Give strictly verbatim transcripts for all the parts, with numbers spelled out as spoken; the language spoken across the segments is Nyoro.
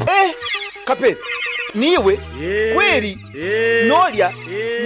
Eh, Kapere, niiwe kweri n'olya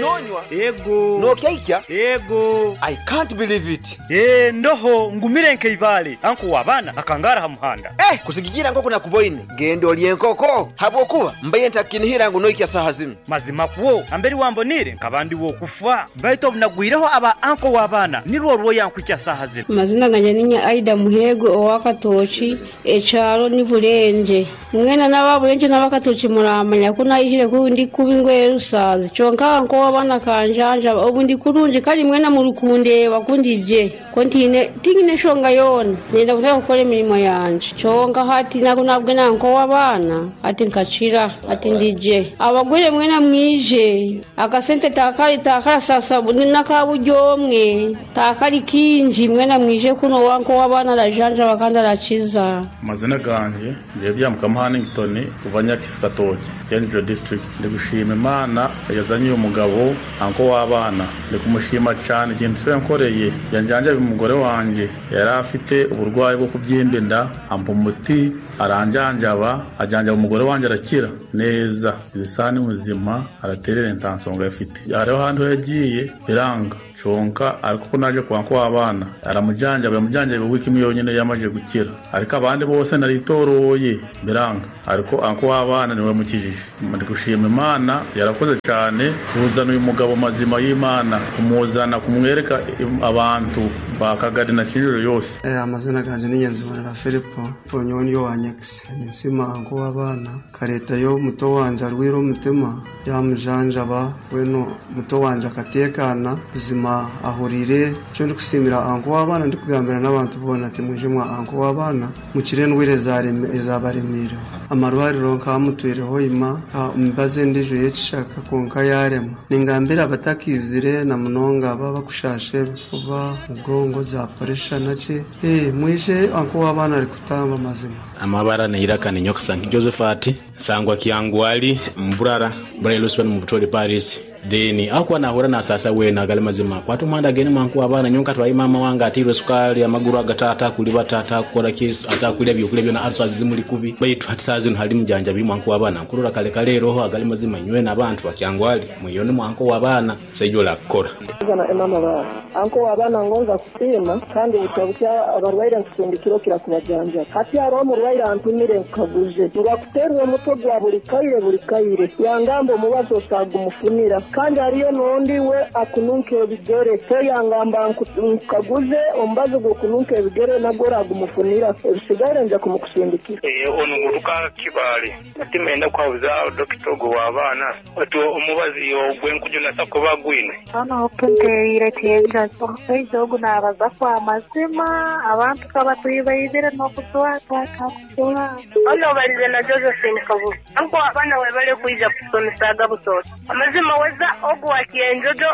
n'onywa Ego. N'okyaikya. Ego. I can't believe it. Eh, ndoho ngumire nkeibaale anko w'abaana akangara ha muhanda. Eh, kusigikira nkoko nakuboine, genda olye enkoko habwokuba mbaire ntakinihira ngu noikya saaha zinu. Mazima kwo amberi wambonire nkaba ndi wokufa, baitu obunagwireho aba anko w'abaana nirwo rwoyankwikya saaha zinu. Amazina ganje ninya Aida Muhego owakatoki, ekyaro ni Bulenje. Mwena n'ababulenje n'abakatoki muramanya ko nayihire ku ndi kuba ingoye rusazi, kyonka nko w'abaana kanjanja obu ndi kurungi, kandi mwena murukundeba kundije ko ntine tingine shonga yona nenda kutaka kukora emirimo yanje, kyonka hati nako nabwe nanko w'abaana ati nkakira ati ndije abagwire mwena mwije akasente takali takala sasa nakaburyomwe takali kinji, mwena mwije kuno wanko w'abaana arajanja bakandi arakiza. Amazina ganje ngiye byamuka Hannington kuva Nyakisi Katoki, Cyenjo district. Ndi gushima Imana yazanye uyu mugabo anko w'abana, ndi kumushima cyane ikintu cyo yankoreye. Yanjanja umugore wanje yari afite uburwayi bwo kubyimba inda, ampa umuti aranjanjaba, ajanjaba umugore wanje arakira neza. Izi saha ni muzima, araterera intansonga afite. Hariho ahantu yagiye biranga conka, ariko ko naje kwa nko w'abana aramujanjaba, yamujanjaba wiki imwe yonyine yamaze gukira, ariko abandi bose naritoroye biranga, ariko anko w'abana niwe mukijije. Ndi gushima Imana yarakoze cyane kuzana uyu mugabo mazima y'Imana, kumuzana kumwereka abantu bakagari na Kinjiro yose. Eh, amazina ganje ni Nyanzibonera Filipo ponyo niyo wa Nyakisi, ninsima anko w'abana kareta yo muto wanje arwira umutima yamujanjaba weno muto wanje akatekana buzima ahurire. Cyo ndi kusimira anko w'abana, ndi kugambira n'abantu bona ati muje mwa anko w'abana mukire ndwire zabaremire amarwariro nkamutwireho ima mbaze ndijo yekishaka konka yarema. Ningambira abatakizire na munonga baba bakushashe kuba mugongo za pressure naki, eh mwije anko w'abana ari kutamba mazima. Amabara neiraka ni nyoka sanki Josephat sangwa kiangwali mburara mburara luswan mu Butoli Paris deni akwa nahura na sasa wena gali mazima kwatu mwanda geni mwanku abana nyonka twayi mama wanga atirwe sukali amaguru agatata kuli batata kukora kisu atakulya byokulya byona arsa zimuli kubi baitu hatisazi hali mjanja bi mwanku abana nkurura kale kale roho agali mazima nywe na abantu bakyangwali muyone mwanku wabana sejola kora na emama ba anko wabana ngonza kusima kandi butabukya abarwaire nkusindikiro kira kubajanja hati haro omurwaire antumire nkaguze ngakuterwa omutwe gwa buli kaire buli kaire yangamba omubazo osagumufunira kandi hariyo n'ondi we akununka ebigere te yangamba nkaguze omubazo gw'okununka ebigere nagwo oragumufunira ebisigaire nja kumukusindikira. Ono nguruka kibale atimenda kwabuza dokita ogwo w'abaana ati omubazi ogwenkujuna sakuba gwine ano openteire tiyenja omushaija ogu naabaza kwa mazima abantu kabatuibaizire n'okutwatwakakutura. Ono balize na Josephine Kabuga anko abaana webale kwija kusomesaga butoto amazima weza ogu wakienjojo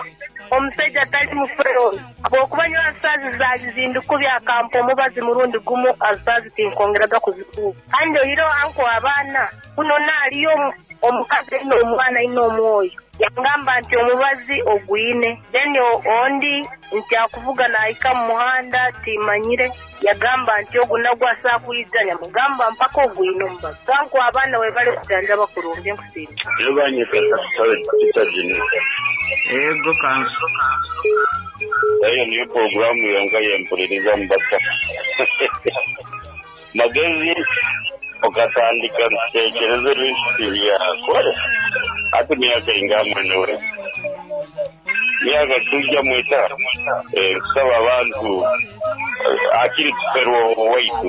omusajja atali mufero habwokuba nyowe asaazi zaazindikubya akampa omubazi murundi gumu asaazi tinkongeraga kuzikuba kandi oiro anko abaana kuno naaliyo omukazi aine omwana aine omwoyo yangamba nti omubazi ogwine then ondi nti akuvuga naahika mu muhanda timanyire yagamba nti ogu nagwo asaakwiza nyamugamba mpaka ogwine omubazi kanko abaana webale kujanja bakurungi nkusiima. Ego kanso eyo niyo programu yonka yempuliriza mubasa magezi okatandika ntekereza ebintu byakore ati myaka ingamwenewe myaka tujja mwita kusaba abantu akiri tuferwa waitu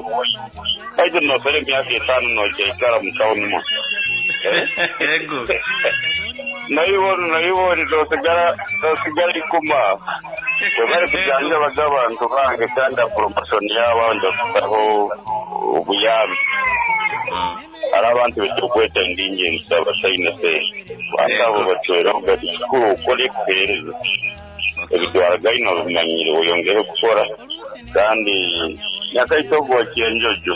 kaitu nofere myaka etano nojaikara mutawuni mo. Ego. Nayibona nayibona tosigara tosigara ikuma webari kujanja bagabantu bange kandi promotion y'abandi kutaho obuyambi hari abantu betukweta ndingenzi abasaine se batabo batwera gati kikuru ukore kuhereza ebitwara gaino bimanyire oyongere gukora kandi nyakaitogo kienjojo.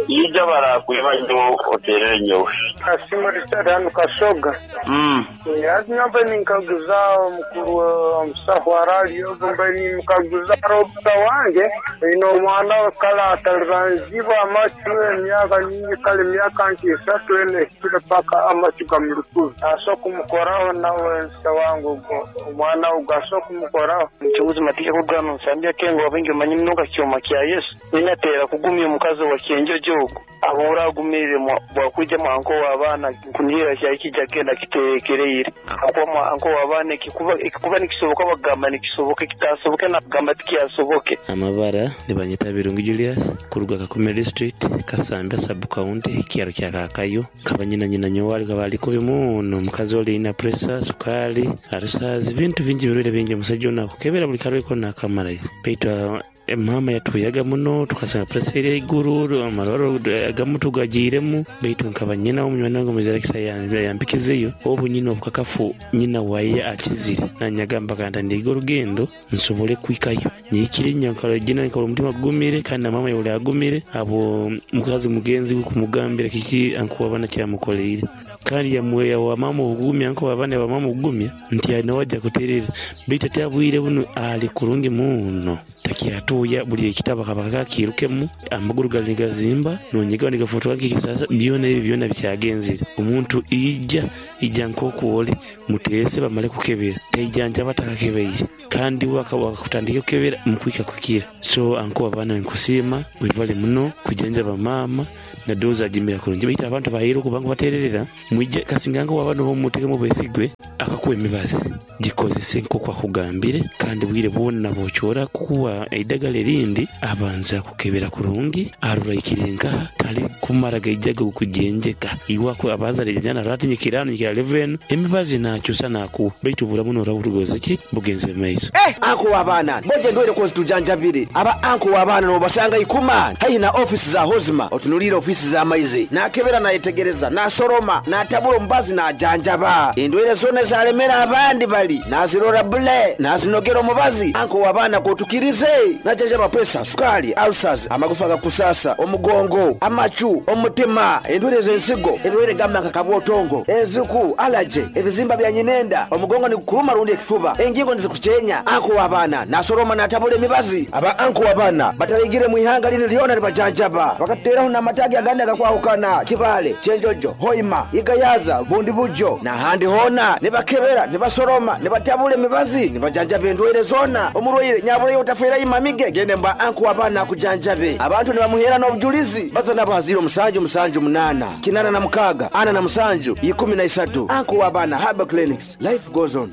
Ija barakweba nyo oterere nyowe. Kasimo Richard hano Kasoga. Mm. Yazi ninkaguza omukuru omusaho arali ogo mbe nimkaguza Robert wange ino omwana kala ataliranzibwa amachu emyaka nyingi kale emyaka nti esatu ene ekire paka amachu gamulikubi aso kumukoraho nawe nsa wangu omwana ogo aso kumukoraho. Nchuguzi matika kugano nsambya kengo wabingi manyi mnoka kyoma kya Yesu ninatera kugumya omukazi wa kyenjojo ogo abura agumire bwakuja mwanko w'abaana nkunihira kyakijja genda kiteekereire akuba mwanko w'abaana ekikuba ekikuba nikisoboka bagamba nikisoboka ekitasoboke nagamba tikyasoboke. Amabara nibanyeta Birungi Julius kuruga Kakumiro district Kasambya sub county kyaro kya Kakayo kabanyina nyina nyowali kabaliko bimuno mukazi oli ina pressure sukali arusazi bintu bingi birwire bingi omusajja ono akukebera buli karweko nakamalayo baitu mama yatuyaga muno tukasanga pressure eri eiguru amarwaro agamu tugagiiremu baitu nkaba nyina omunywani wange omuzarakisa yampikizeyo obu nyina obukakafu nyina waye akizire nanyagamba kanda ndiga orugendo nsobole kwikayo nyikire nyankara gina nkora omutima gugumire kandi na mama yoli agumire abo mukazi mugenzi we kumugambira kiki ankuwa abana kyamukoleire kandi yamweya wa mama obugumya ankuwa abana ba mama obugumya nti nawajja kuterera baitu atyabwire buno ali kurungi muno takyatuya buli ekitabo kabaka kakirukemu amaguru gali nigazimba nonyiga nigafotoka kikisasa byona ebi byona bikyagenzire omuntu ijja ijja nkokuwole muteese bamale kukebera tejjanja batakakebeire kandi wakutandika kukebera mukwika kukira so ankuwa abaana nkusiima webale muno kujanja bamaama nadoza agimira kurungi baitu abantu bahire okubanga batererera mwije kasinganga wabano bomutekemu besigwe akakuwa emibazi gikozese nk'oku akugambire kandi bwire bwona bokyora kukuwa eidagala erindi abanza kukebera kurungi aruraikire nkaha tali kumara gaijaga okujenjeka iwako abanza rejana ratinyikira nyikira leven emibazi nakyusa nakuwa baitu bulamu noraburugoze ki bugenze maiso. Eh anko w'abaana boje ndwere kozitujanjabire aba anko w'abaana nobasanga ikuma haihi na ofisi za Hozima otunulire ofisi za maizi nakebera nayetegereza nasoroma natabula omubazi najanjaba endwere zona zalemera abandi bali nazirora bule nazinogera omubazi anko w'abaana kotukirize najanjaba pressure sukali ulcers amagufa gakusasa omugongo amachu omutima endwere z'ensigo ebirwere gamba kakabwotongo enziku allergy ebizimba bya nyinenda omugongo ni kukuluma rundi ekifuba engingo nizikuchenya anko w'abaana nasoroma natabula emibazi aba anko w'abaana bataligire mu ihanga lino lyona libajanjaba bakateraho n'amatagi agandi agakwahukana Kibale Chenjojo Hoima Igayaza Bundi Bujo n'ahandi hona nibakebera nibasoroma nibatabula emibazi nibajanjaba endwaire zona omurwaire nyabulayo otafera imamige gende mba anko w'abaana akujanjabe abantu nibamuhera n'obujulizi baza nabo ziro musanju musanju munana kinana na mukaga ana na musanju ikumi na isatu anko w'abaana Herbal Clinics life goes on.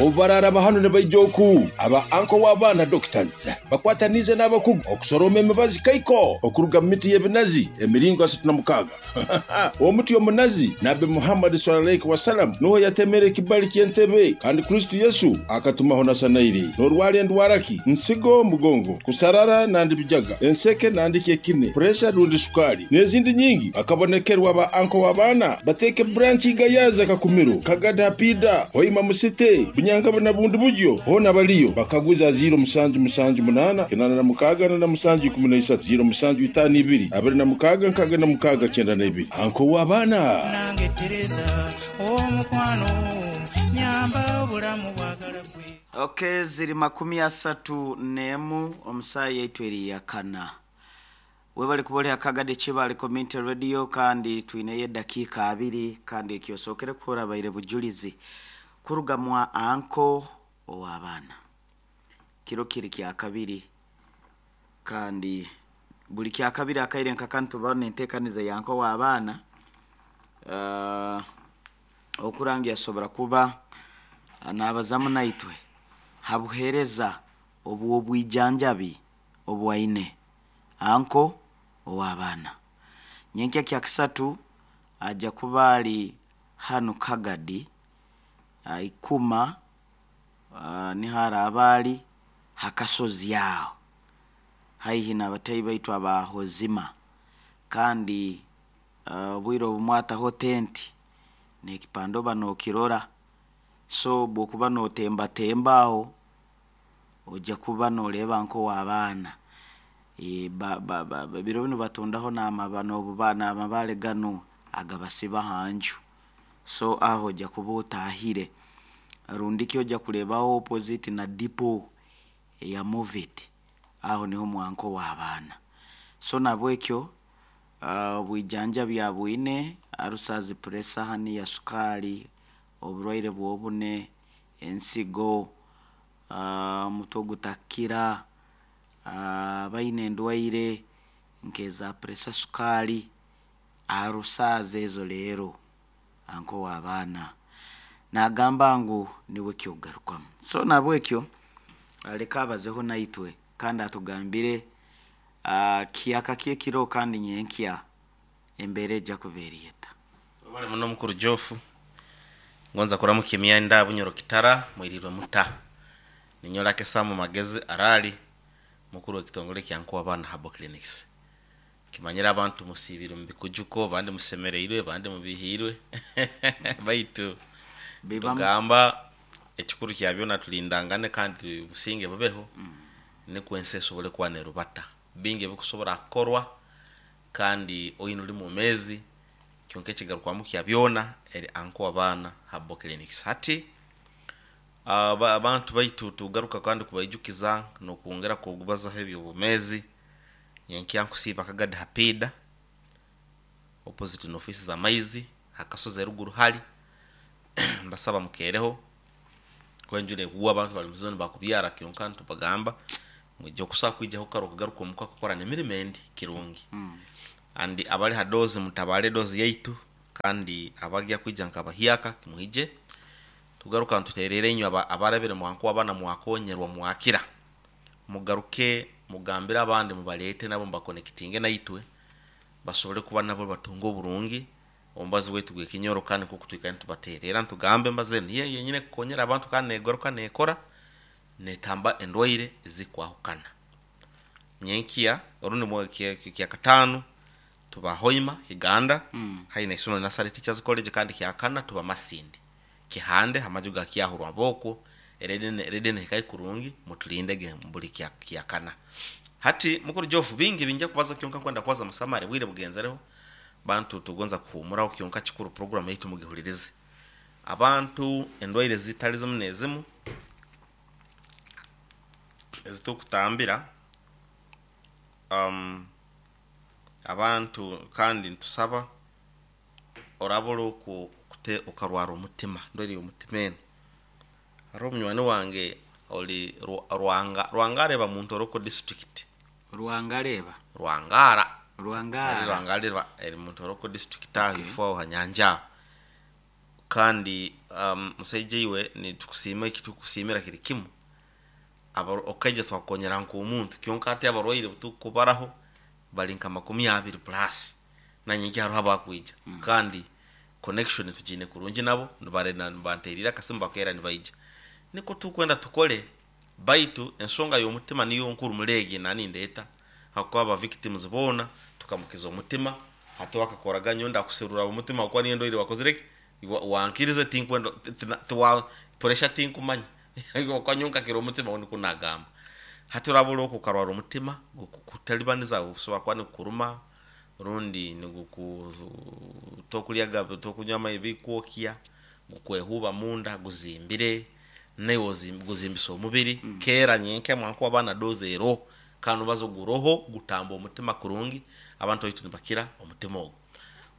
Obarara bahano ne baijoku aba anko w'abaana doctors bakwatanize n'abakugu okusoroma emibazi kaiko okuruga mu miti y'ebinazi emiringo asatu na mukaga omuti omunazi Nabbi Muhammad sallallahu alaihi wasallam nuho yatemere ekibali ky'entebe kandi Kristo Yesu akatumaho nasanairi norwale endwaraki nsigo mugongo kusarara nandi bijaga enseke nandi kyekine pressure rundi sukali n'ezindi nyingi akabonekerwa aba anko w'abaana bateke branch Igayaza Kakumiro Kagada Pida Hoima Musite Bunyanga na Bundi Bujo hona baliyo bakaguza ziro musanju musanju munana kinana na mukaga na musanju ikumi na isatu ziro musanju itano ibiri abiri na mukaga nkaga na mukaga kyenda na ibiri anko w'abaana nange Teresa omukwano nyamba obulamu bwagala gwe. Okay, ziri makumi asatu nemu omusayi yaitu eri yakana webali kubole akagade Kibale Community Radio kandi twineye dakika abiri kandi ekyosokere kukora baire bujulizi kuruga mwa anko ow'abaana kiro kiri kya kabiri kandi buli kya kabiri akaire nkakantu bane entekaniza ya anko w'abaana uh, okurangi asobora kuba nabazamu naitwe habuhereza obu obwijanjabi obwaine anko ow'abaana nyenkya kya kisatu aja kubali hanu Kagadi uh, ikuma uh, nihara abali hakasozi yao haihi na batayi baitu abahozima kandi uh, bwiro obumwata ho tenti nekipando bano kirora so bwokuba notemba tembaho ojja kuba noleba nko w'abaana E, ba, ba, ba, ba, biro binu batundaho n'amaba n'obuba n'amabaale ganu agabasiba hanju so aho ojja kuba otahire rundiki ojja kurebaho opposite na dipo ya movit aho niho mwanko w'abaana. So nabwekyo uh, obwijanja bya bwine arusazi pressure hani ya sukali, oburwaire bwobune, ensigo, uh, omutwe ogutakira, uh, baine endwaire nk'eza pressure, sukali, arusazi ezo leero anko w'abaana nagamba ngu niwe kyogarukamu. So nabwekyo aleka abazeho naitwe kandi atugambire uh, kiyaka kyekiro kandi nyenkya embeera ejja kubeeriyeta. Wabale muno mukuru Jofu ngonza kuramuka emyanda Bunyoro Kitara mwirirwe muta ninyola kesamu magezi arali mukuru w'ekitongole kya Nkuwa Abaana Herbal Clinics. Kimanyira abantu musibire mu bikujuko, bandi musemereirwe, bandi mubihirwe baitu tugamba ekikuru kya byona tulindangane kandi businge bubeho mm. Nikwo ensi esobole kuba nerubata bingi ebikusobora kukorwa kandi oyina oli mumezi kyonka ekigarukwamu kya byona eri Anko Abaana Herbal Clinics. Hati aba- abantu baitu tugaruka kandi kubaijukiza nokwongera kubazaho ebyobumezi. Nyenkya nkusiiba akagadi hapida opposite n'ofisi za maizi hakasozi eruguru hali mbasaba mukereho kwenjure kuwa abantu bali muzoni bakubyara kyonka ntubagamba mwijja okusobola kwijaho karo kugaruka omuka kukora n'emirimo endi kirungi mm. Andi abali ha dozi mutabale dozi yaitu kandi abagya kwija nkabahyaka kimuhije tugaruka ntuterere inyo aba, abarabire mwanku abana mwakonyerwa mwakira mugaruke mugambire abandi mubalete nabo mbakonekitinge naitwe basobole kuba nabo batunga oburungi ombazi wetu gwekinyoro kandi kukutwika ntubaterera ntugambe mbaze niye yenyine kukonyera abantu kandi negoroka nekora netamba endwaire ezikwahukana. Nyenkia orundi mwa kya, kya katano tuba Hoima Kiganda mm. Haina isomo Nasari Teachers College kandi kyakana tuba Masindi kihande hamajuga kyahurwa boko eredene eredene hikai kurungi mutulindege mbuli kya kyakana. Hati mukuru Jofu bingi binja kubaza kyonka kwenda kwaza musamare bwire bugenzereho bantu tugonza kuhumuraho kyonka kikuru program yitu mugihulirize abantu endwaire zitali zimu nezimu ezitukutambira um, abantu kandi ntusaba orabura oku kute okarwara omutima ndwere omutima eno. Hariho omunywani wange oli Rwanga Rwangareba muntu oroko district Rwangareba Rwangara Rwangara Rwangareba eri muntu oroko district aho ifo hanyanja kandi um, musaije iwe ni tukusima ekitukusimira kiri kimu aba okaija twakonyera nko omuntu kyonka ati abarwaire tukubaraho bali nka makumi abiri plus na nyingi hariho abakwija mm. Kandi connection tujine kurungi nabo nibarena nibanterira akasimba kera nibaija niko tukwenda tukole baitu ensonga y'omutima niyo nkuru mulege nani ndeta hakuba aba victims bona tukamukiza omutima hati wakakoraga nyonda kuserura omutima kwa niyo ndoire wakozireke wankirize tinkwenda tiwa pressure tinkumanya kwa nyonka kiro omutima oni kunagamba hati urabura okukarwara omutima kutalibaniza usoba kwa nikuruma rundi niguku tokulyaga tokunywa amaizi kwokya gukwehuba munda guzimbire nayo guzimbisa omubiri mm. Kera nyenke mwanku abana doze ero kanu bazo guroho gutamba omutima kurungi abantu baitu nibakira omutima ogwo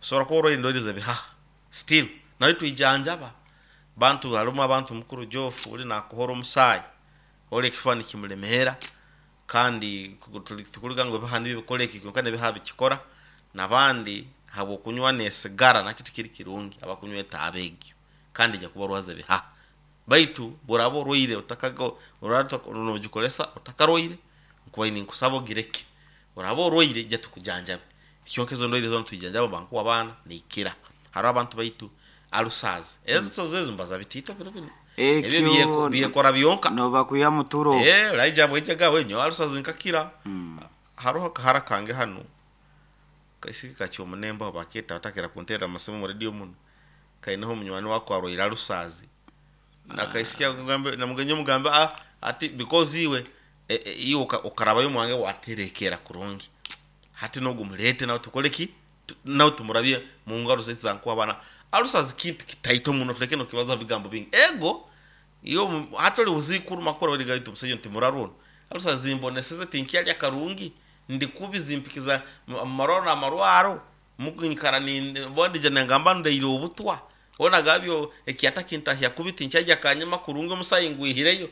usobora kuba orwaire endwaire zebihaha still nayo twijanjaba bantu harimu abantu mukuru Jofu uri nakuhora omusaayi ori ekifani kimulemera kandi tukuliga ngo biha nibikora eki kyonka nebiha bikikora nabandi habo kunywa nesigara nakiti kiri kirungi abakunywa etaabe egyo kandi ja kuba rwaze biha baitu burabo orwaire utakago uratonogikolesa utakaroire nkuba ini nkusabo gireke urabo orwaire ja tukujanjabe kyonka ezo ndwaire zona tujanjaba banku abana nikira hari abantu baitu alusazi ezo zezo mbaza bitito bino bino ebyo byekora byonka no bakuya muturo eh laija bwejaga wenyo alusazi nkakira mm. Haroho kahara kange hano kaisiki kachi omunemba baketa batakera kuntera amasimu mu radio muno kaineho omunywani wako arwaire alusazi nakaisikia ngambe namugenye mugambe ah ati because iwe E- e- iwe uka- ukarabayo mwange waterekera kurungi hati nogumulete nawe tukole ki Tu- nawe tumurabye mu ngaro zaitu zankuwa abana alusazi kintu kitaito muno tuleke nokibaza bigambo bingi ego iyo mu- hati oli uzikuru makora weligaito musajja nti muraruna alusazi mboneseze tinkyalya karungi ndikubi zimpikiza mu- marwaro namarwaro mukunyikara ni bondija nengamba ndaire obutwa ona gabyo ekiata kintahya kubi tinkyajya kanyama kurungi omusayi ngwihireyo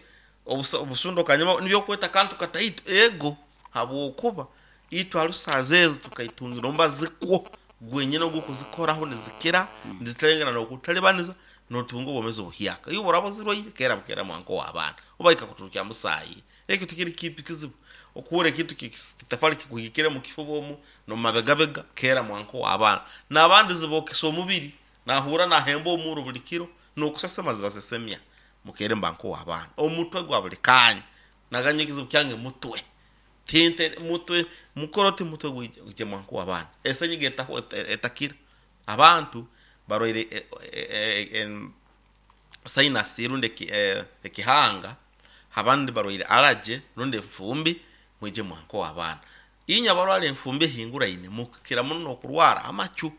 obusa- obusundo kanyama nibyokweta kantu kataito ego habwokuba itwe alusaza ezo tukaitungira ombazikwo gwenyine ogukuzikoraho nizikira niziterengana nokutalibaniza notunga obwomezi obuhyaka iyo buraba zirwaire kera bukera mwanko w'abaana obaika kuturukya musayi ekyo tikiri kipi kizibu okuhura ekintu kitafali kikuhikire mu kifuba omu nomumabegabega kera mwanko w'abaana n'abandi zibokesa omubiri nahura nahemba omuro buli kiro nokusesema zibasesemya mukere mbanko w'abaana omutwe gwa buli kanya naganye ekizibu kyange mutwe tinte mutwe mukoroti mutwe gwije mwanko w'abaana esenyiga etaho etakira abantu barwaire e- e- e- em, sinus rundi eki- eh, ekihanga abandi barwaire allergy rundi enfumbi mwije mwanko w'abaana inywe abarwara enfumbi ehinguraine mukira muno nokurwara amachu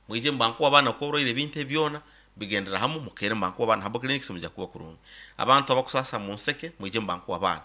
mwije mbanko w'abaana kuba orwaire ebintu ebyona bigendera hamu mukere mbanko w'abaana habo clinics mujja kuba kurungi abantu abakusasa mu nseke mwije mbanko w'abaana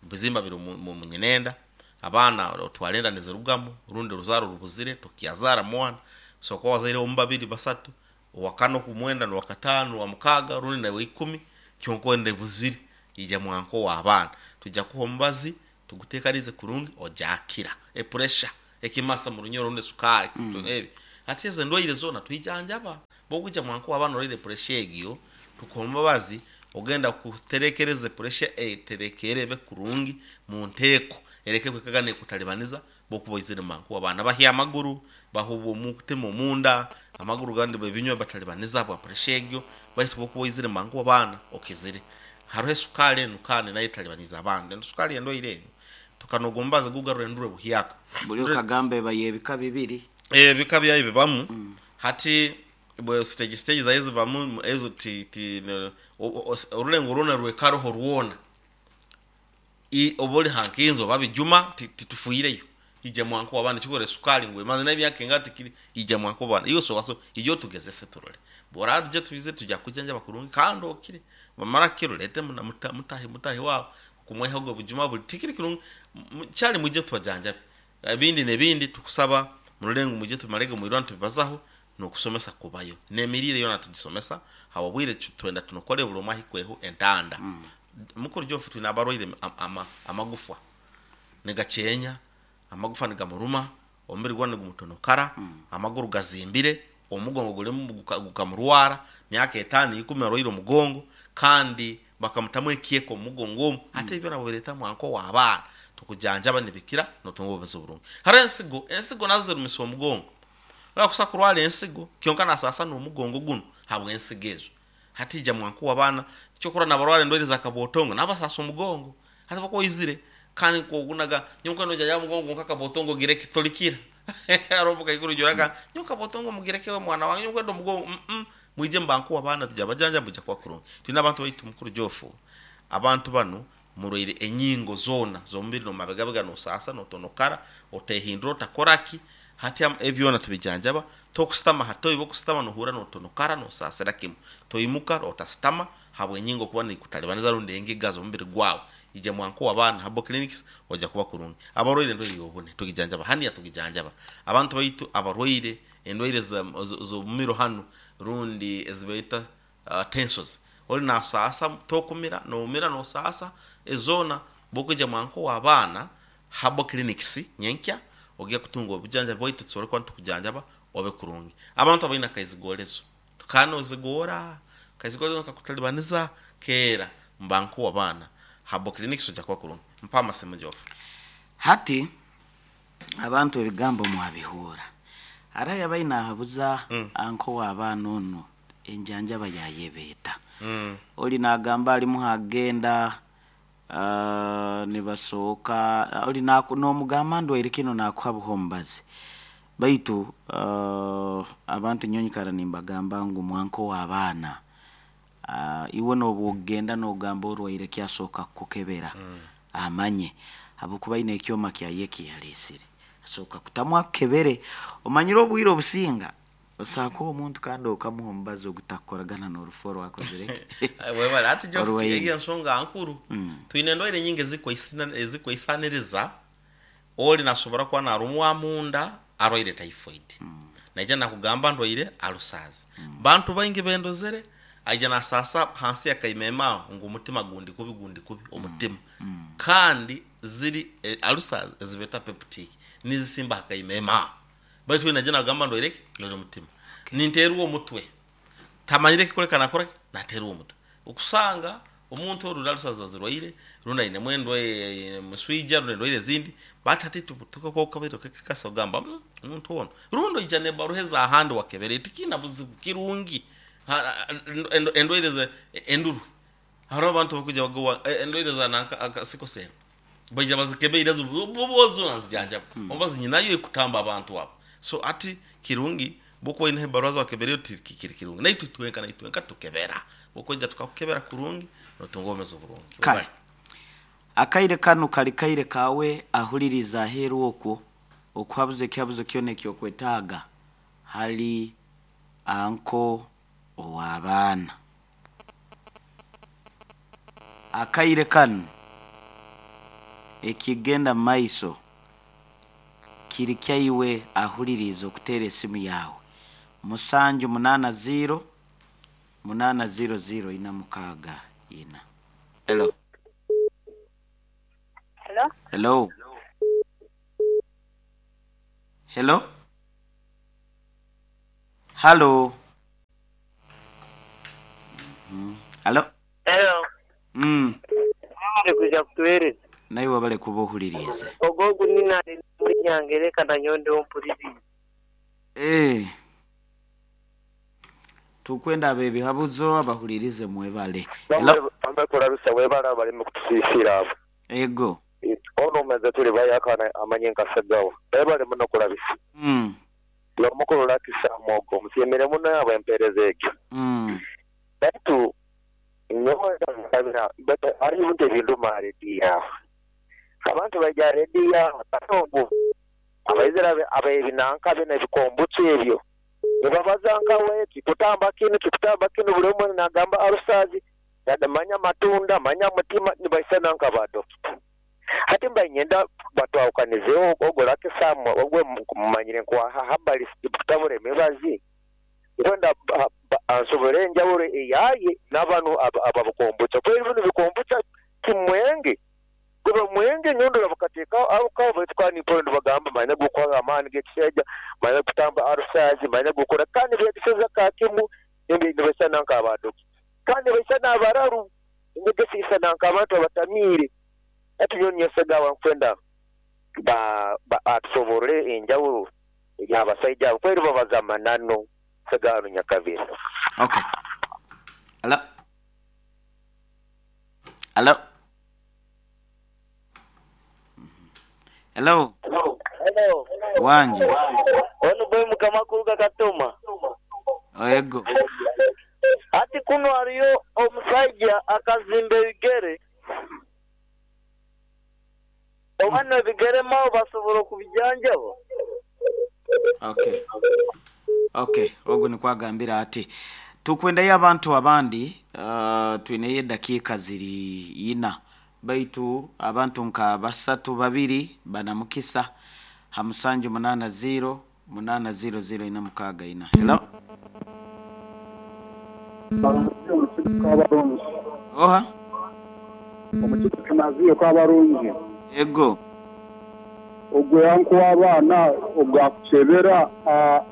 bizimba biri mu- mu munyenenda abaana otwalenda nizirugamu rundi ruzaro rubuzire tukiazara mwana so kwa wazaire omu babiri basatu owakano kumwenda nowakatano wa mukaga rundi nawe ikumi kyonko buzire ija mwanko w'abaana tujja kuha omubazi tuguteekanize kurungi ojakira epuresha ekimasa mu runyoro rundi sukari mm. ebi ati ezo endwaire zona twijanjaba bwokuja mwanko w'abaana orwaire puresha egyo tukuha omubazi ogenda kuterekereza puresha eterekere ebe kurungi mu nteeko ereke kwekagana ekutalibaniza bokuba oizire manku abaana bahya amaguru bahuba omutima omunda amaguru gandi bebinywa batalibaniza bwa puresha egyo baitu bokuba oizire manku abaana okizire hariho esukari enu kandi nayo etalibaniza abandi enu sukari endwaire enu tukanoga omubazi gugarura endure buhyaka buli okagambe bayebika bibiri ebika byayo bibamu hati bwe stage stage zayo zibamu ezo ti, ti ne- o- o- orulengo rwona rwekaroho rwona I- oba oli hankinzo oba bijuma ti- titufuireyo ija mwanko wabana chikore sukali ngwe maze nabyake nga tikiri ija mwanko bana iyo so waso iyo tugezese turole bora tuje tuize tuja kujanja bakurungi kando okire bamara kiro lete muna muta- mutahi mutahi wao kumweha ogwo bujuma buli tikiri kirungi M- kyali muje tubajanja ebindi nebindi tukusaba murulengo muje tumalege mwirwana tubibazaho nokusomesa kubayo nemirire yona tugisomesa hawabwire twenda tunokole buli omwe ahikweho entanda mm. mukuru jofu twine abarwaire am- ama, amagufwa nigakyenya amagufa nigamuruma omubiri gwa nigumutonokara mm. amaguru gazimbire omugongo gulimu guka- gukamurwara myaka etaano ikumi arwaire omugongo kandi bakamutamu ekyeko omugongo omu ate ebyo nabo bireta mwanko w'abaana tukujanjaba nibikira notunga obumezi burungi hariho ensigo ensigo nazo zirumisa omugongo urakusa kurwara ensigo kyonka nasasa n'omugongo guno habw'ensigo ezo hati ija mwanku w'abaana kyokora nabarwara endwaire za kabotongo nabasasa omugongo hati bakoizire kandi kogunaga nyonka noja ya mugongo nka kabotongo gireke tolikira arobuka ikuru juraka nyonka botongo mugireke we mwana wange nyonka ndo mugongo mm -mm. mwije mbanku w'abaana tuja bajanja muja kwa kurungi tulina abantu baitu mukuru jofu abantu bano murwaire enyingo zona zomubiri nomabegabega nosasa notonokara otehindura otakoraki hati am- ebyona tubijanjaba tokusitama hatoiba okusitama nohura notonokara nosasira kimu toimuka otasitama habwenyingo kuba nikutalibaniza rundi engiga z'omubiri gwawe ija mwanko w'abaana habo clinics oja kuba kurungi abarwaire endwaire yobune tugijanjaba haniya tugijanjaba abantu baitu abarwaire endwaire za- zo- z'omumiro hanu rundi ezibaita uh, tensos oli nasasa tokumira nomira nosasa ezona bokuja mwanko w'abaana habo clinics nyenkya ogiye kutunga obujanjabi bwaitu tusobole kuba nitukujanjaba obe kurungi abantu abaine akaizigorezo tukanozigora kaizigorezo kakutalibaniza keera mbanku w'abaana habo clinics ojja kuba kurungi mpa amasimu jofu hati abantu ebigambo mwabihuura araya bainahabuza mm. anko w'abaana ono enjanjaba yayebeeta mm. oli nagamba alimu hagenda uh, nibasooka oli naku- nomugamba ndwaire kino nakuha buhombazi baitu uh, abantu nyonyikara nimbagamba ngu mwanko w'abaana uh, iwe nobwogenda nogamba orwaire kyasooka kukukebera mm. amanye habwokuba aine ekyoma kyaye kiyaleesire asooka kutamu akukebere omanyire obwire obusinga osaaka omuntu kandi okamuha omubazi ogutakukoragana n'orufu orwakozire webale ati jo Orwaine. eyo ensonga nkuru twine endwaire nyingi ezikweisina- ezikweisaniriza oli nasobora kuba narumwa munda arwaire typhoid naija nakugamba ndwaire alusazi bantu baingi bendozere aija nasasa hansi yakaimema ngu omutima gundi kubi gundi kubi omutima kandi ziri eh, alusazi ezibeta peptic nizisimba hakaimema baitu we naija nagamba ndwaire ki ndwaire omutima ninterwa omutwe tamanyire kikoleka nakora naterwa omutwe okusanga omuntu oru alusazi zirwaire rundi ainemu endwaire muswija rundi endwaire ezindi batati tukakokabiro kekakasa ogamba "Mm, omuntu ono rundi oija nebaruha ezahandi wakebere tikina buzibu kirungi Ha- ha- endo- endwaire ze endurwe hariho abantu bakuja bagowa eh, endwaire za nanka sikosera baija bazikebeire zona nzijanjaba omubazi nyinayo ekutamba abantu abo so ati kirungi bokuba oine ebaruha zawakebereyo kiri kirungi naitwe twenka naitwenka tukebera bokweja tukakukebera kurungi notunga obumezi oburungi Kale. Akaire kanu kali kaire kawe ahuliriza aheeru okwo okuhabuza ekihabuzo kyona ekyokwetaaga hali anko ow'abaana. Akaire kanu ekigenda mu maiso kiri kyaiwe ahuliriza okuteera esimu yawe musanju munaana ziro munaana ziro ziro ina mukaaga ina. Hello. Hello? Hello. Hello. Hello. Mhm. Hello. Hello. Mm. Mwebale kuja kutuweereza. Naye wabale kuba ohulirize. Ogwo ogunina muri Nyangereka na nyondo ompulirize. Eh. Tukwenda abebihabuzo abahulirize mwebale. Hello. Bamwe webala baleme kutusiisira abo. Ego. Ono omaze tuli bayakana amanye nkasagawa. Webale muno kulabisa. Mm. Lomukulu lakisa mwogo musiimire muno yabo empeereza ekyo. Mm. Baitu nyowe ndabira baitu hariho ebintu ebinduma rediyo aho. Abantu bajya rediyo aho obu abaizira abebinanka bino ebikombutsu ebyo nibabaza nkawe kikutamba kinu kikutamba kinu buli omwe nagamba arusazi manya matunda manya mutima nibaisana nka badokita. Hati mba nyenda batwawukanizeho ogwo lakisamu ogwe mumanyire nkwaha habali kutabura emibazi kwenda ansobole enjawulo eyaye n'abanu ababukombutsa kweri bino bikombutsa kimwenge kuba mwenge nyondo bakateeka abuka baitu pondo bagamba manya gukora amaani g'ekishaija manya kutamba arusazi manya gukora kandi byegeseza kakimu nibaisana nk'abadokita kandi baisana abararu ngegesisana nk'abantu abatamiire. Ati nyo nyesegawa nkwenda ba ba atusoborere enjawulo y'abasaija abo kweri babaza amanano segano nyakabiri. Okay. Hello. Hello. Hello. Hello. Wanje. Ono boy mukama kuruga Katoma. Ego. Ati kuno hariyo omusaija akazimba ebigere. Obano ebigere mao basobola okubijanjaba. Okay. Okay, ogwo nikwagambira ati tukwendayo abantu abandi uh, twineyo edakiika ziri ina baitu abantu nka basatu babiri banamukisa ha musanju munaana ziro munaana ziro ziro ina mukaaga ina. Hello. Oha. Omukigo kinaziyo kabarungi. Ego. Ogwe yanku w'abaana obwakukyebera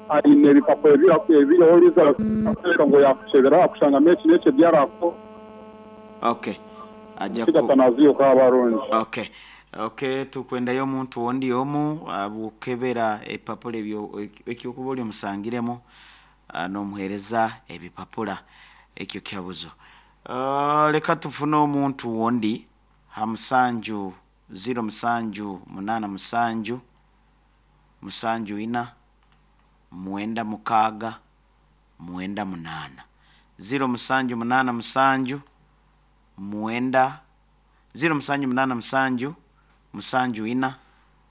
aine ebipapura ebiriho ngo yakukyebera akushanga meki n'ekyo byarako. Okay. Aja ku kanaziyo kabarungi. Okay. Okay, tukwendayo omuntu wondi omu abukebera epapula ebyo ekyokuba oli omusangiremu n'omuheereza ebipapula ekyo kyabuzo. Uh, leka tufune omuntu wondi ha musanju ziro musanju munana musanju musanju ina mwenda mukaaga mwenda munana ziro musanju munana musanju mwenda Ziro musanju munana musanju musanju ina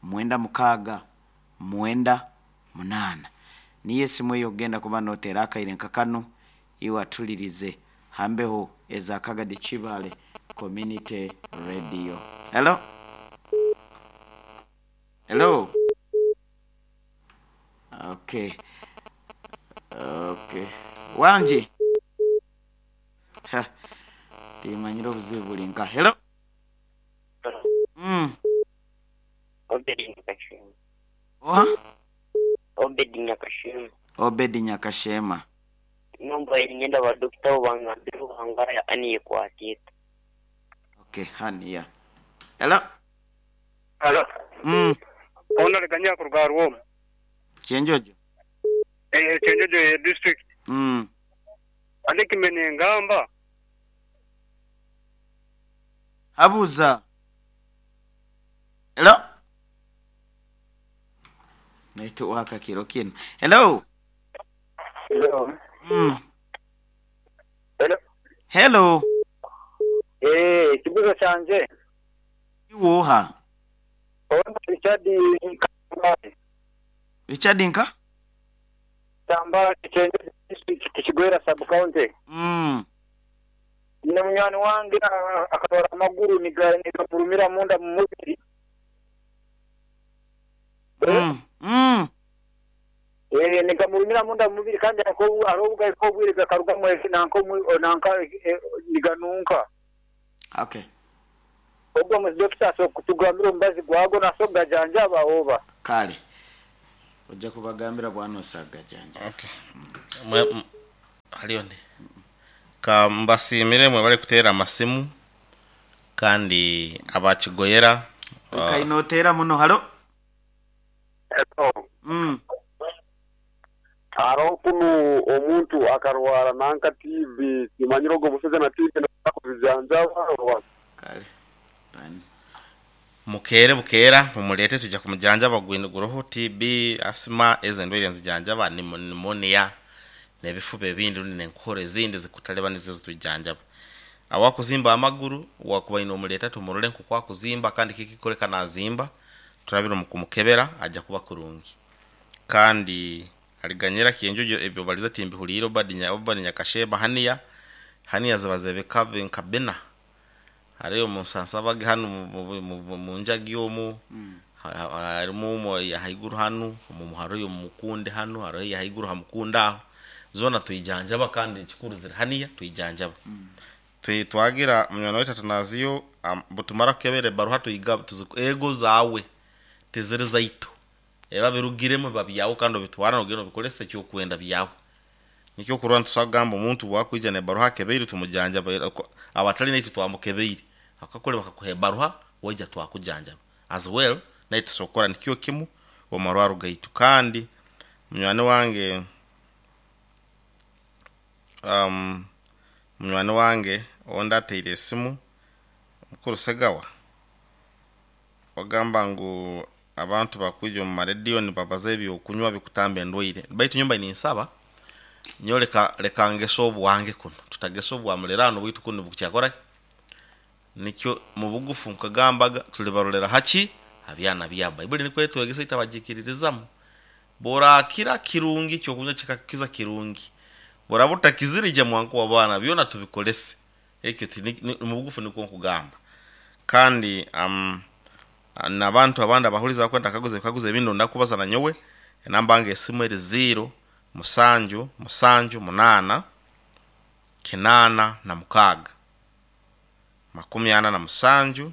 mwenda mukaaga mwenda munana. Niyo esimu eyo ogenda kuba notera akaire nka kano iwe atulirize hambeho eza Kagadi Kibale Community Radio. Hello? Hello? Okay. Okay. Wanji? Ha. Timanyire obuzibu buli nka. Hello? Mm. Obedi Nyakashema. Oha? Obedi Nyakashema. Obedi Nyakashema. Nomba ngenda ba dokita obangambira obangara ani ekwatita. Okay, hania. Hello? Hello. Mm. Ona liganya kuruga Rwom. Kyenjojo. Eh Kyenjojo ye district. Mm. Ande kimene ngamba. Habuza. Hello? Neto waka kiro kino. Hello? Hello. Mm. Hello. Hello. Eh, kibuzo kyanje. Iwoha. Ona Richard Nka. Richard Nka? Tamba Kyenjojo district Kigwera sub county. Mm. Nina munywani wange akatwara amaguru nigamurumira munda mu mubiri. Mm. Mm. Eh nigamurumira munda mu mubiri kandi ako arobuga ko bwirega karuga mu nanko nanka niganunka. Okay. Ogwo mu doctor so kutugambira ombazi gwago nasoga janja baoba. Kale. Ojja kubagambira bwana osaga janja. Okay. Mm. Haliyo ndi. Ka mbasimire mwe bali kutera amasimu kandi abakigoyera uh, kainotera muno. Halo. Hello. Mm. Aro kunu omuntu akarwara nanka T V kimanyiro go museze na T V nakuzijanja. Kale. Bani. Mukere bukera mumulete tujja kumujanja bagwinduguroho T B asima ezendwire nzijanja ba pneumonia nebifuba ebindi nenkore ezindi zikutaleba nizizo tujanjaba. Awakuzimba amaguru wakuba ino omuleta tumurole nkukwa kuzimba kandi kikikoleka nazimba turabira mukumukebera ajja kuba kurungi. Kandi aliganyera Kyenjojo ebyo baliza timbi huliro badinya obadinya kasheba hania hania zabazebeka nkabena hariyo munsansa bage hanu mu njagi omu harimu mu haiguru hanu mu muharo mukunde hanu hariyo haiguru hamukunda zona tuijanjaba kandi kikuru ziri hania tuijanjaba. Mm. Twi twagira munywani wetu Atanaziyo um, butumara kebere baruha tuiga tuziku ego zawe tiziri zaitu eba birugiremo babyawo kandi bitwara no bikolese cyo kwenda byawo nikyo kurwa tusagamba omuntu wakwija ne baruha kebeiri tumujanja abatali naitu twamukebeiri akakole bakakuhe baruha weja twakujanjaba as well naitu sokora nikyo kimu omarwaru gaitu. Kandi munywani wange um munywani wange onda teire esimu mukuru Segawa wagamba ngu abantu bakuja mu radio ni babaza ebyo kunywa bikutamba endwaire baitu nyumba ni nsaba nyoleka leka ngeso obwange kuno tutageso obwamulerano bwitu kuno bukyakora nikyo mu bugufu nkagambaga tulibarolera haki abyana bya Bible niko yetwegesa itabagikiririzamu borakira kirungi cyo kunywa kikakiza kirungi borabuta kizirije mwanko wabana byona tubikolese ekyo mu bugufu niko nkugamba. Kandi um, nabantu abandi abahuliza kwenda kaguze kaguze ebintu ndakubaza na nyowe enamba nge esimu eri zero musanju musanju munana kinana na mukaga makumi ana na musanju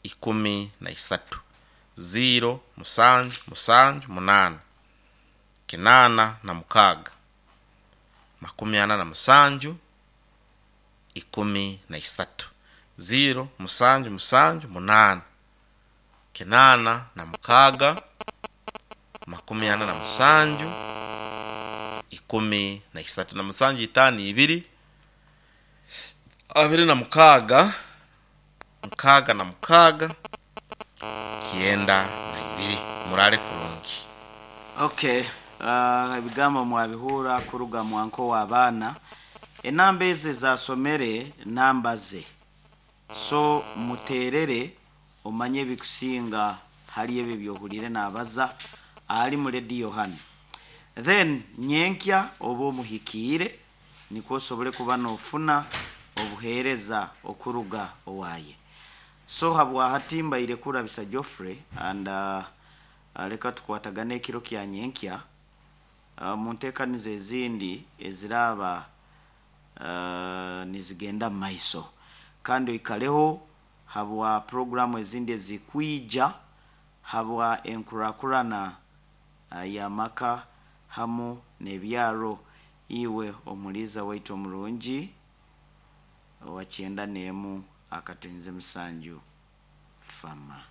ikumi na isatu zero musanju musanju munana kinana na mukaga makumi ana na musanju ikumi na isatu zero musanju musanju munana kinana na mukaga makumi ana na musanju ikumi na isatu na musanju itani ibiri abiri na mukaga mukaga na mukaga kienda na ibiri. Murale kurungi. Okay, uh, ebigambo mwabihura kuruga mwanko w'abaana. Enamba eze zasomere namba ze So muterere omanye ebikusinga hali ebyo byohulire nabaza ali mu rediyo hano. Then nyenkya oba omuhikiire nikwo osobole kuba nofuna obuheereza okuruga owaye. So habwahati mbaire kurabisa Geoffrey and uh, uh, leka tukwatagane ekiro kya nyenkya uh, mu nteekaniza ezindi eziraaba uh, nizigenda mu maiso, kandi oikaleho habwa programu ezindi ezikwija habwa enkurakurana uh, y'amaka hamu n'ebyaro. Iwe omuliiza waitu omurungi owa kyenda n'emu akatenze musanju fama.